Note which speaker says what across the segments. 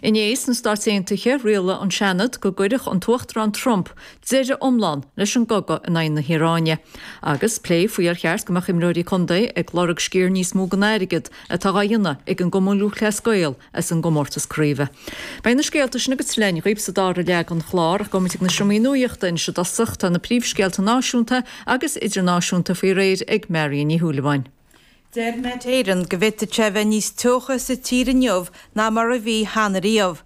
Speaker 1: Inné sna Stáit Aontaithe, rialaigh an Seanad go gcuirfeadh an tUachtarán Trump deireadh iomlán leis an gcogadh in aghaidh na hIaráine. Agus plé faoi ar cheart go mbeadh imreoirí contae ag lorg sciar níos mó den airgead atá dhá dhéanamh ag an gCumann Lúthchleas Gael as an gcomórtas craoibhe. Beidh na scéalta sin agus tuilleadh againn dhaoibh sa dara leath den chlár ach gabhfaimid ag na seomraí nuachta anois i dtosach. Tá na príomhscéalta náisiúnta agus idirnáisiúnta faoi réir ag Marion Ní Shúilleabháin.
Speaker 2: Deir Met Éireann go bhféadfadh sé a bheith níos teocha sa tír inniu ná mar a bhí cheana riamh.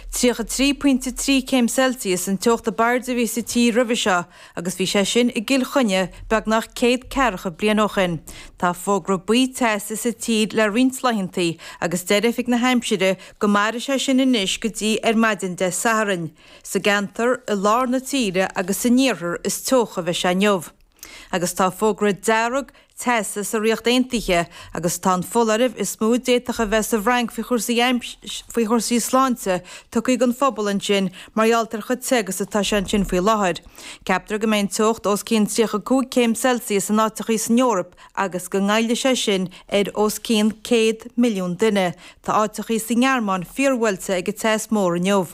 Speaker 2: 33 pointe 3 céim Celsius an teocht ab airde a bhí sa tír roimhe seo agus bhí sé sin i gCill Chainnigh beagnach céad ceathracha bliain ó shin. Tá fógra buí teasa sa tír le roinnt laethantaí agus deir Oifig na hAimsire go mairfidh sé sin anois go dtí ar maidin Dé Sathairn. Sa gceantar i lár na tíre agus san iarthar is teocha a bheidh sé inniu. Agus tá fógra dearg teasa sa Ríocht Aontaithe agus tá an foláireamh is mó a d'fhéadfadh a bheith sa bhFrainc faoi chúrsaí faoi chúrsaí sláinte tugtha don phobal ansin mar gheall ar chomh te agus atá sé ansin faoi láthair. Ceaptar go mbeidh an teocht os cionn 35 céim Celsius in áiteachaí san Eoraip agus go ngoillfidh sé sin ar os cionn 100 milliún duine. Tá áiteachaí sa nGearmáin fíorbhuailte ag an teas mór inniu.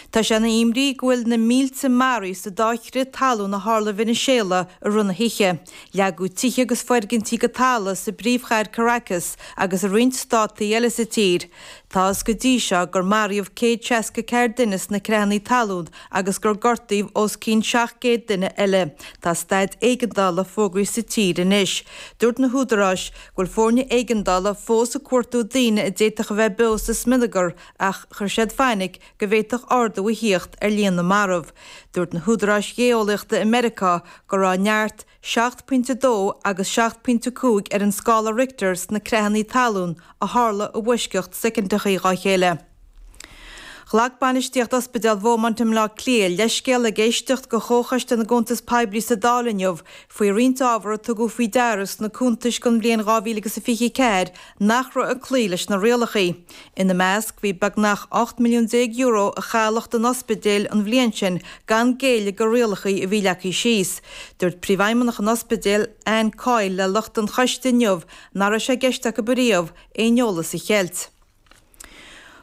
Speaker 2: Tá sé ina imní go bhfuil na mílte maraithe sa dá chrith talún a tharla i Veiniséala i rith na hoíche. Leagadh tithe agus foirgintí go talamh sa bpríomhchathair Caracas agus i roinnt státaí eile sa tír. Tá fhios go dtí seo gur maraíodh 164 duine sna creathanna talún agus gur gortaíodh os cionn 700 duine eile. Tá staid éigeandála fógraithe sa tír anois. Dúirt na húdaráis go bhfuil foirne éigeandála fós ag cuartú daoine a d'fhéadfadh a bheith beo sa smionagar ach chuir siad fainic go bhféadfadh ardú a thíocht ar líon na marbh. Dúirt na húdaráis ghéeolaíochta i Meiriceá go raibh neart 7.2 agus 7.5 ar an scála Richter sna creathanna talún a tharla i bhfoisceacht soicindeachaí dhá chéile. Ghlac bainistíocht Ospidéal Bheaumont i mBleá Cliath leithscéal ag éisteacht go Chomhchoiste na gCuntas Poiblí sa Dáil inniu faoi roinnt ábhar a tugadh faoi deara sna cuntais don bhliain 2024 nach raibh ag cloí leis na rialacha. Ina measc bhí beagnach €18 milliún a cailleadh don ospidéal an bhliain sin gan géilleadh go rialacha a bhí leagtha síos. Dúirt Príomhfheidhmeannach an ospidéil, Anne Coyle le lucht an choiste inniu nach raibh sé i gceist acu ariamh aon eolas a cheilt.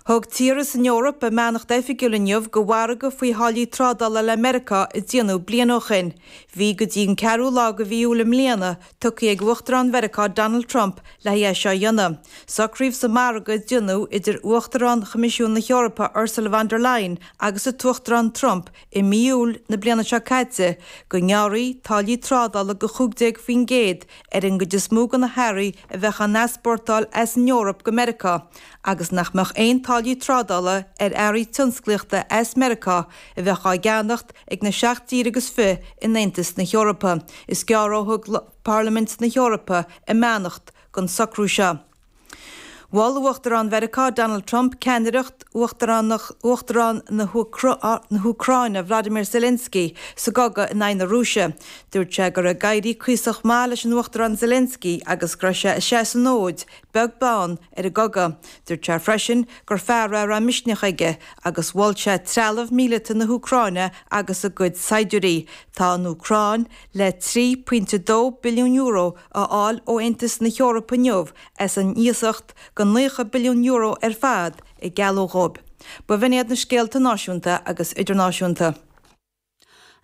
Speaker 2: Thug tíortha san Eoraip a mbeannacht oifigiúil inniu go mhargadh faoi tháillí trádála le Meiriceá a déanadh bliain ó shin. Bhí go dtí an ceathrú lá de mhí Iúil i mbliana tugtha ag Uachtarán Mheiriceá Donald Trump le haghaidh é seo a dhéanamh. Socraíodh sa margadh a déanadh idir Uachtarán Choimisiún na hEorpa Ursula von der Leyen agus an tUachtarán Trump i mí Iúil na bliana seo caite go ngearrfaí táillí trádála de 15% ar an gcuid is mó de na hearraí a bheadh á n-easpórtáil as an Eoraip go Meiriceá agus nach mbeadh aon táillí trádála ar earraí tionsclaíochta as Meiriceá a bheadh á gceannacht ag na seacht dtír agus fi in Aontas na hEorpa. Is gearr ó thug Parlaimint na hEorpa a mbeannacht don socrú seo. Mhol Uachtarán Mheiriceá Donald Trump ceannaireacht Uachtarán na hÚcráine Vladimir Zelensky sa gcogadh in aghaidh na Rúise. Dúirt sé go raibh ag éirí cuíosach maith leis an Uachtarán Zelensky agus go raibh sé ag seasamh an fhóid, beag beann ar an gcogadh. Dúirt sé freisin gur fear é a raibh misneach aige agus mhol sé trealamh míleata na hÚcráine agus a gcuid saighdiúirí. Tá an Úcráin le €3.2 billiún a fháil ó Aontas na hEorpa inniu as an iasacht de €90 billiún ar fad a gealladh dhóibh. B'in iad na scéalta náisiúnta agus idirnáisiúnta.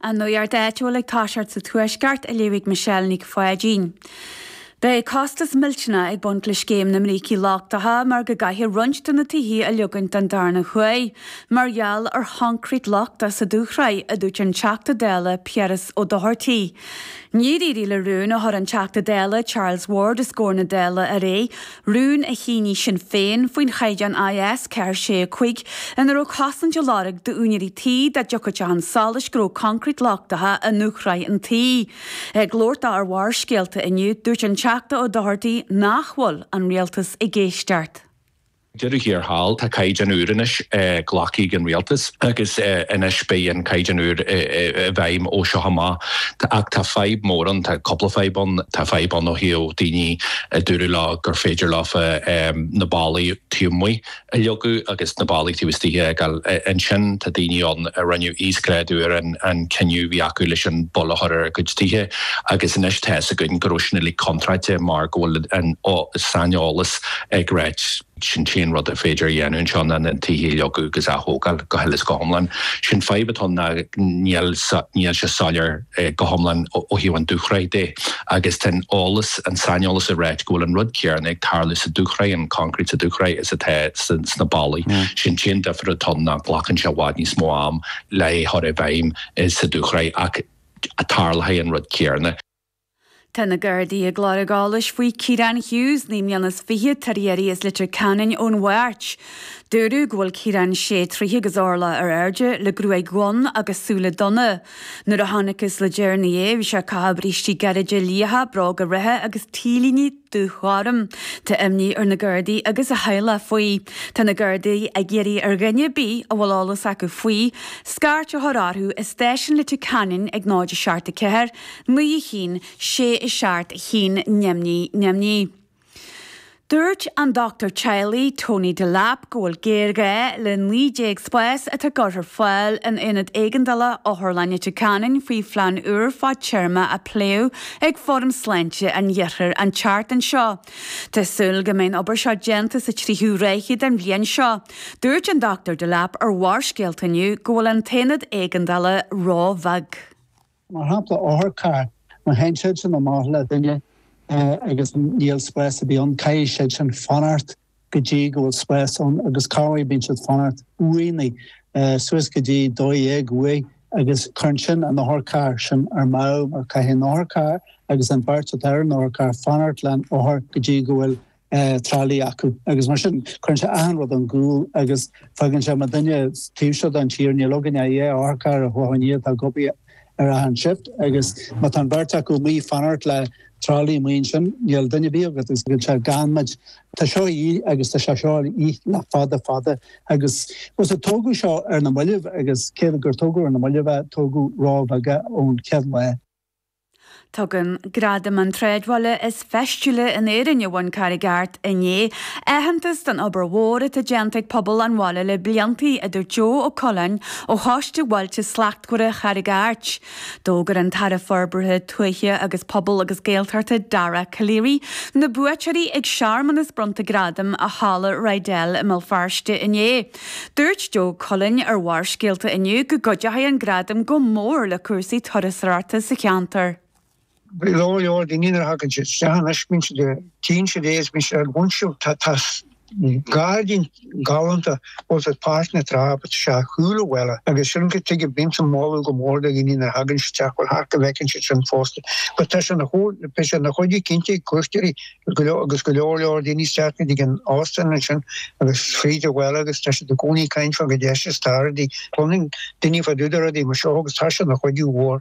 Speaker 3: An nuacht áitiúil ag toiseacht sa Tuaisceart á léamh ag Michelle Nic Pháidín. Beidh costas millteanach ag baint le scéim na mbrící lochtacha mar go gcaithfear roinnt de na tithe a leogaint den darna huair mar gheall ar choincréit lochtach sa dúshraith, a dúirt an Teachta Dála Piaras Ó Dochartaigh. Níor éirigh le rún a chuir an Teachta Dála Charles Ward os comhair na Dála aréir, rún a shínigh Sinn Féin faoin chaighdeán IS 465 ina raibh cosaint á lorg d'úinéirí tí dá dtiocfadh sé chun solais go raibh coincréit lochtacha i ndúshraith an tí. Ag labhairt dó ar Bharrscéalta inniu, dúirt an Teachta Ó Dochartaigh nach bhfuil an Rialtas ag éisteacht.
Speaker 4: Deireadh thiar thall, tá caighdeán úr anois glactha ag an rialtas agus anois beidh an caighdeán úr i bhfeidhm ó seo amach. Ach tá fadhb mór ann, tá cúpla fadhb ann. Tá fadhb ann ó thaobh daoine a dúradh leo gur féidir leofa na ballaí taobh amuigh a leagadh agus na ballaí taobh istigh a fhágáil. Ansin tá daoine ann a rinneadh íosghrádú ar an cinneadh a bhí acu leis an bpoll a chur ar a gcuid tithe agus anois tá fhios againn go raibh sin uilig contráilte mar go bhfuil an saineolas ag ráit. Sin t-aon rud ar féidir a dhéanamh anseo ná na tithe a leagadh agus a ath-thógáil go huile is go hiomlán. Sin fadhb atá ann ná níl níl sé soiléir go hiomlán ó thaobh an dúshraith de agus tá an eolas, an saineolas ag ráit go bhfuil an rud céanna ag tarlú sa dúshraith, an concrete sa dúshraith is atá sna ballaí. Sin t-aon difear atá ann ná glacann sé i bhfad níos mó am le é a chur i bhfeidhm sa dúshraith ach tarlóidh an rud céanna.
Speaker 3: Tá na Gardaí ag lorg eolais faoi Ciarán Hughes, 29 mbliana, atá ar iarraidh as Leitir Ceanainn ón Mháirt. Dúradh go bhfuil Ciarán sé troithe agus orlach ar airde, le gruaig dhonn agus súile donna. Nuair a chonacthas le deireanaí é, bhí sé ag caitheamh brístí gairide liatha, bróga reithe agus t-léine dúghorm. Tá imní ar na Gardaí agus a theaghlach faoi. Tá na Gardaí ag iarraidh ar dhuine ar bith a bhfuil eolas acu faoi, scairt a chur orthu i stáisiún Leitir Ceanainn ag 0 7 4 9 1 6 7 1 0 0 0. Dúirt an dochtúir teaghlaigh Tony Delap go bhfuil géarghá le 19 spás atá curtha ar fáil in Aonad Éigeandála Otharlann Leitir Ceanainn faoi phlean úr fadtéarma a pléadh ag Fóram Sláinte an Iarthair an tseachtain seo. Tá súil go mbeidh an obair seo déanta sa tríú ráithe den bhliain seo. Dúirt an Dr Delap ar Bharrscéalta inniu go bhfuil an t-aonad éigeandála róbheag.
Speaker 5: Mar shampla, otharcharr, má théann siad sin amach le duine agus níl spás ar bith ann, caithfidh siad sin fanacht go dtí go bhfuil spás ann agus corruair bíonn siad fanacht uaighnigh suas go dtí 12 uair agus cuireann sin an otharcharr sin ar meadh mar caithfidh an otharcharr agus an bheirt atá ar an otharcharr fanacht leis an othar go dtí go bhfuil tralaí acu agus mar sin cuireann sé achan rud ón gcúl agus fágann sé mar duine taobh seo den tír níl againn ach dhá otharcharr ar Chlochán Liath atá ag obair ar achan shift agus má tá an bheirt acu amuigh fanacht le tralaí amuigh ansin níl duine ar bith agat agus fágann sé gan muid. Tá seo a dhíth agus tá sé seo a dhíth le fada fada agus bhuel tógadh seo ar na mallaibh agus cé gur tógadh ar na mallaibh é tógadh róbheag é ón chéad lá.
Speaker 3: Tugann Gradaim an tSráidbhaile is Feistiúla in Éirinn a bhain Carraig Airt inné aitheantas don obair mhór atá déanta ag pobal an bhaile le blianta, a dúirt Joe Ó Coileáin ó Choiste Bhailte Slachtmhara Charraig Airt. D'fhógair an tAire Forbartha Tuaithe agus Pobail agus Gaeltachta Dara Calleary na buaiteoirí ag searmanas bronnta gradam i Halla Rydell i mBéal Feirste inné. Dúirt Joe Cullen ar Bharrscéalta inniu go gcuideoidh an gradam go mór le cúrsaí turasóireachta sa cheantar.
Speaker 6: Go leor leor daoine nuair a thagann siad isteach anois bíonn siad ag tchíonn siad é is bíonn siad ag bhaint tá tá gairdín galánta bhfuil siad páirc na trá but tá sé ar chúl an bhaile agus sin go tuige bíonn sa moladh go mór do dhaoine nuair a thagann siad isteach bhuel thart go bhfeiceann siad sin fosta but tá sé ina beidh sé ina chuidiú cinnte ag cuairteoirí go leor agus go leor leor daoine isteach go dtí an óstán ansin agus fríd an bhaile agus tá siad i gcónaí ag caint fá go deis is tá rudaí cluineann daoine fá dtaobh de rudaí mar seo agus tá sé ina chuidiú mhór.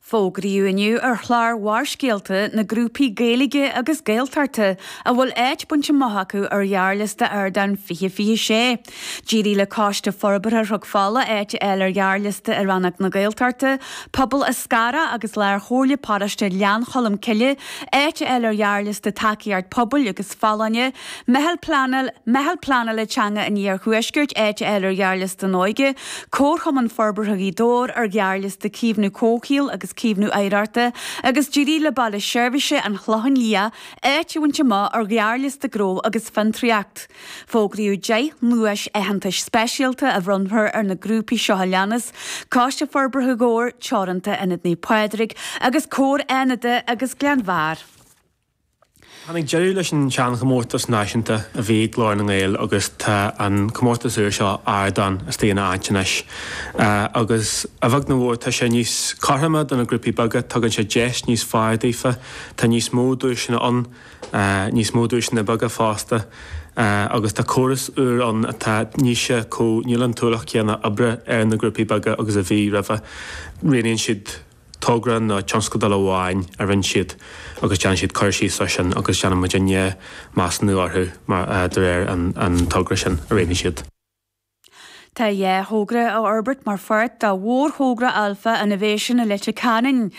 Speaker 3: Fógraíodh inniu ar chlár Bharrscéalta na grúpaí Gaeilge agus Gaeltachta a bhfuil áit bainte amach acu ar ghearrliosta Ardán 2026. D'éirigh le Coiste Forbartha Chnoc Fola áit a fháil ar ghearrliosta i rannóg na Gaeltachta, Pobal Eascarrach agus Lár-Chomhairle Paróiste Ghleann Cholm Cille áit a fháil ar ghearrliosta Tacaíocht Pobail agus Folláine, Meitheal Pleanála Meitheal Pleanála Teanga an Iarthuaiscirt áit a fháil ar ghearrliosta an Óige, Comharchumann Forbartha Ghaoth Dobhair ar ghearrliosta Caomhnú Comhshaoil agus Caomhnú Oidhreachta agus d'éirigh le Baile Seirbhíse an Chlocháin Liath áit a bhaint amach ar ghearrliosta Gnó agus Fiontraíocht. Fógraíodh 10 nduais aitheantais speisialta a bhronnfar ar na grúpaí seo a leanas, Coiste Forbartha Dhobhair Teoranta, Ionad Naomh Pádraig agus Comhar Fhánada agus Gleann Bharr.
Speaker 7: Tháinig deireadh leis an seanchomórtas náisiúnta a bhí ag Glór na nGael agus tá an comórtas úr seo, Ardán, istigh ina áit anois. Agus a bheag nó a mhór tá sé níos cothroime do na grúpaí beaga, tugann sé deis níos fearr daofa, tá níos mó duaiseanna ann. níos mó duaiseanna beaga fosta agus tá córas úr ann atá níl sé chomh, níl an t-ualach céanna oibre ar na grúpaí beaga agus a bhí roimhe. Roghnaíonn siad togra nó tionscadal amháin a rinne siad agus déanann siad cur síos air sin agus déanann muidinne measúnú orthu mar de réir an togra sin a roghnaigh siad.
Speaker 3: Tá 2 thogra á fhorbairt mar pháirt de mhórthogra Alpha Innovation i Leitir Ceanainn.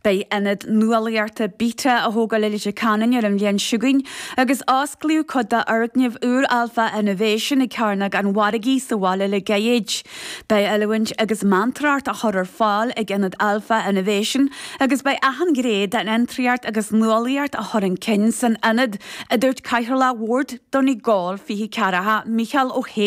Speaker 3: Beidh ionad nuálaíochta Beta á thógáil i Leitir Ceanainn ar an bhliain seo chugainn agus osclaíodh cuid d'fhoirgneamh úr Alpha Innovation ag Cearnóg an Mhargaidh sa bhaile le gairid. Beidh oiliúint agus meantóireacht á chur ar fáil ag ionad Alpha Innovation agus beidh achan ghné den fhiontraíocht agus nuálaíocht á chur chun cinn san ionad, a dúirt Cathaoirleach Bhord Donegal 24, Mícheál Ó hÉanaí.